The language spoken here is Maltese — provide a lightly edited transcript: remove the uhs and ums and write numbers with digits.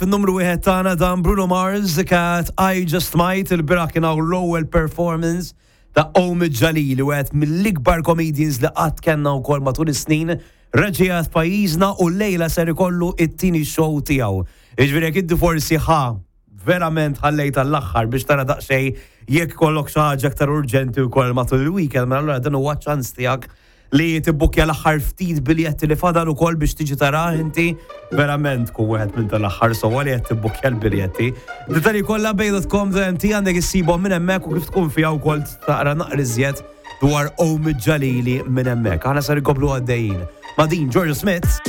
fin-numru wieħed tagħna dan Bruno Mars kat I Just Might il-bieraħ kien hawn l-ewwel performance ta' Omid Jalili, wieħed mill-ikbar comedians li qatt kellna wkoll matul is-snin reġa' f'pajjiżna u llejla ser ikollu it-tieni show tiegħu. Jiġifieri jekk inti forsi ħa verament ħallejt għall-aħħar biex tara daqsxejn jekk kollok xi ħaġa aktar urġenti wkoll matul il-weekend, mela allura dan huwa ċans tiegħek li tibbukkja l-aħħar ftit biljetti li fadal ukoll biex tiġi tara inti verament tkun wieħed minn tal-aħħar sewwa li qed tibbukkja l-biljetti. Dettalji kollha bay.com.mt għandek issibhom minn hemmhekk u kif tkun fiha wkoll taqra naqra iżjed dwar Omid Jalili minn hemmhekk. Aħna sar inkomplu għaddejjin. Ma' din Georgia Smith.